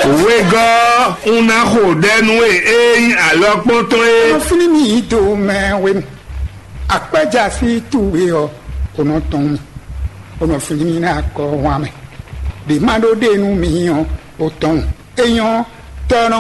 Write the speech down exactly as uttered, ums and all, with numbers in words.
Wegɔ́ un ná xo ɖɛ nú we é nyí alɔkpɔ́ntɔn é. Nɔ fínní mì yí do mɛ hwenu. Akpɛ́já sí towe ɔ́, o nɔ tɔn mì. O nɔ fínní mì ná kɔ wán mɛ. Ɖě má ɖó ɖe nú mi ɔ́, o tɔn. É nyɔ́ tɔ́ nɔ